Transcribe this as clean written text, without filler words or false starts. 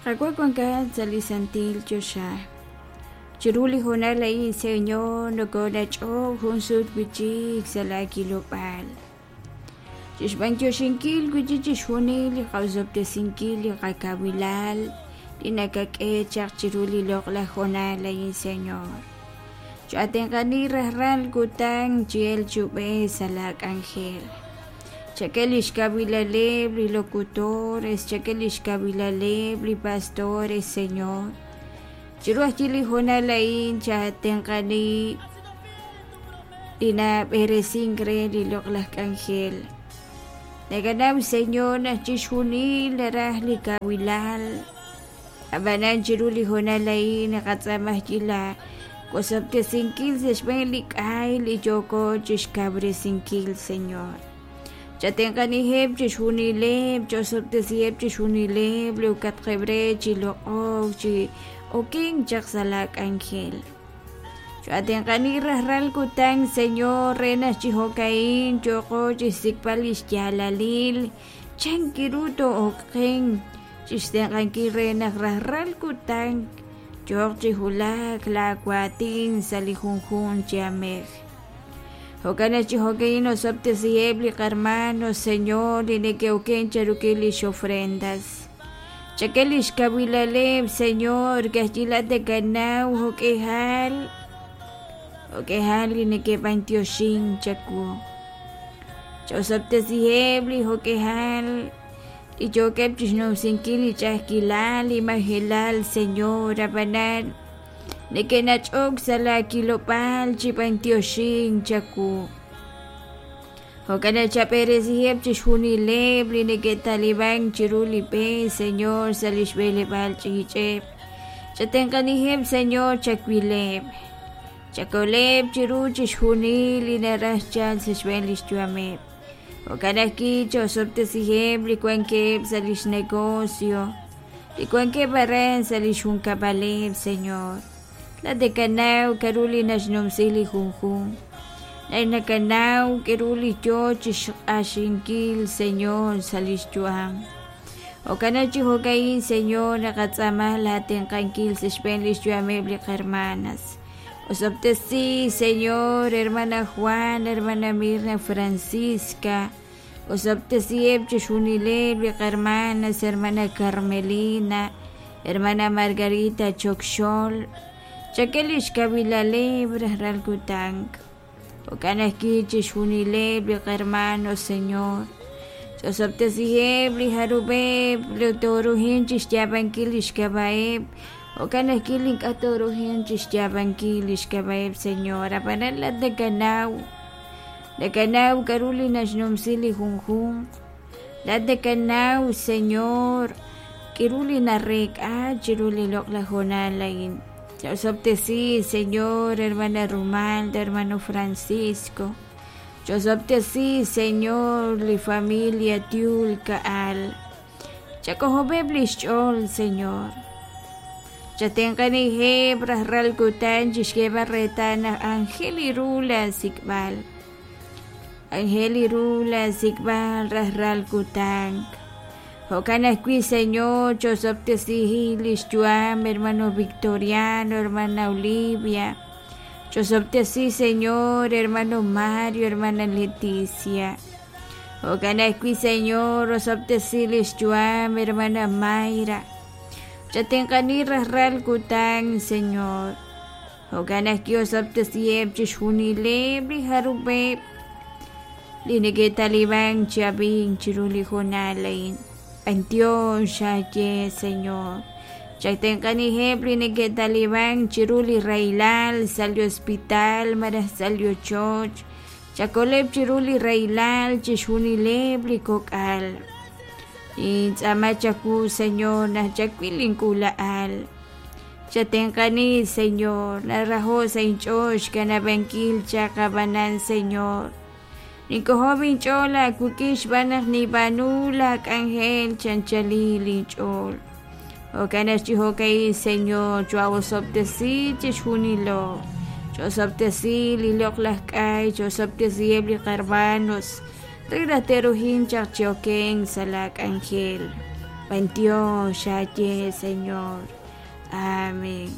Qaawa' wankat sa' li santil choxa. Chiru li hoonal a'in, Señor, nokoonach'ok jun sut wi'chik sa' laa kilob'aal. Chixb'antioxinkil wi'chik chixjunil li qaosob'tesinkil li qakawilal li nakak'e chaq chiru li loq'laj hoonal a'in, Señor. Cho'atenq'ani rajlal kutan chi elk chi ub'ej sa' laa k'anjel. Chak'e lix kawilaleb' li locutores, chak'e lix kawilaleb' li pastores, Señor. Chiru ajwi' li hoonal a'in chatenq'ani li nab'eresink re li loq'laj k'anjel. Nakanaw, Señor, naq chixjunil naraj li kawilal. Ab'anan chiru li hoonal a'in naqatz'aama ajwi' la wosob'tesinkil sa' xb'een li k'ay li yooko chixkawresinkil, Señor. Chatenq'aniheb' chixjunileb', ch'osob'tesiheb' chixjunileb' li ukatqeb' re chi loq'ok, chi okenk chaq sa' laa k'anjel. Cho'atenq'ani rajlal kutan, Señor, re naq chi jo'ka'in yooqo chixsik'b'al lix yaalalil chan ru too'okenq chixtenq'ankil re naq rajlal kutan yooq chi wulak laa waatin sa' li junjunq chi aamej. Jo'kan naq chi jo'ka'in osob'tesiheb' li qarmano, Señor, li neke'oken cheruk'il lix ofrendas. Chak'e lix kawilaleb', Señor, ka'ajwi' laa'at nakanaw jo'k'ihal jo'k'ihal li neke'b'antioxink chawu. Ch'osob'tesiheb' li jo'k'ihal li yookeb' chixnumsinkil li ch'a'ajkilal, li majelal, Señor, ab'anan neke'nach'ok sa' laa kilob'aal chi b'antioxink chawu. Jo'kan naq chab'eresiheb' chixjunileb' li neke'talib'ank chiru li b'e, Señor, sa' lix b'eleb'aal ch'iich'eb'. Chatenq'aniheb', Señor, chawileb'. Chakoleb' chiru chixjunil li naraj chalk sa' xb'een lix yu'ameb'. Jo'kan ajwi' chosob'tesiheb' li wankeb' sa' lix negocio, li wankeb' aran sa' lix junkab'aleb', Señor. Laa'at nakanaw k'a'ru li naxnumsi li junjunq. Laa'at nakanaw k'a'ru li yoo chixq'axinkil, Señor, sa' lix yu'am. Jo'kan naq chi jo'ka'in, Señor, naqatz'aama laa tenq'ankil sa' xb'een lix yu'ameb' li qarmanas. Osob'tesi, Señor, hermana Juan, hermana Mirna Francisca. Osob'tesiheb' chixjunileb' li qarmanas, hermana Carmelina, hermana Margarita Chokxol. Chak'e lix kawilaleb' rajlal kutan. Jo'kan ajwi' chixjunileb' li qarmano, Señor. Ch'osob'tesiheb' li jarub'eb' li tooruhin chixyaab'ankil lix k'ab'a'eb'. Jo'kan ajwi' li ink'a' tooruhin chixyaab'ankil lix k'ab'a'eb', Señor. Ab'anan laa'at nakanaw, nakanaw k'a'ru li naxnumsi li junjunq. Laa'at nakanaw, Señor, k'a'ru li nareek'a chiru li loq'laj hoonal a'in. Ch'osob'tesi, Señor, hermana Rumalda, hermano Francisco. Ch'osob'tesi, Señor, li familia Tiul Ka'al. Chak'ojob'eb' lix ch'ool, Señor. Chatenq'aniheb' rajlal kutan chixk'eeb'al reetal naq aajel ru laa sik'b'al. Aajel ru laa sik'b'al rajlal kutan. Jo'kan ajwi', Señor, ch'osob'tesihi lix yu'am hermano Victoriano, hermana Olivia. Ch'osob'tesi, Señor, hermano Mario, hermana Leticia. Jo'kan ajwi', Señor, osob'tesi lix yu'am hermana Mayra. Chatenq'ani rajlal kutan, Señor. Jo'kan ajwi' osob'tesiheb' chixjunileb' li jarub'eb' li neke'talib'ank chi ab'ink chiru li hoonal a'in. B'antiox aaye, Señor. Chatenq'aniheb' li neke'talib'ank chiru li rahilal sa' li hospital malaj sa' li ochoch. Chakoleb' chiru li rahilal chixjunileb' li kok'al. Nintz'aama chawu, Señor, naq chawil link'uula'al. Chatenq'ani, Señor, naraho' sa' inch'ool xkanab'ankil chaq ab'anan, Señor, nink'ojob' inch'ool aawik'in xb'aan naq ninb'aanu laak'anjel chi anchalil inch'ool. Jo'kan naq chi jo'ka'in, Señor, choo'osob'tesi chixjunilo. Choo'osob'tesi li loq'laj k'ay, choo'osob'tesiheb' li qarmanos re naq te'ruhin chaq chi okenk sa' laak'anjel. B'antiox xaye, Señor. Amén.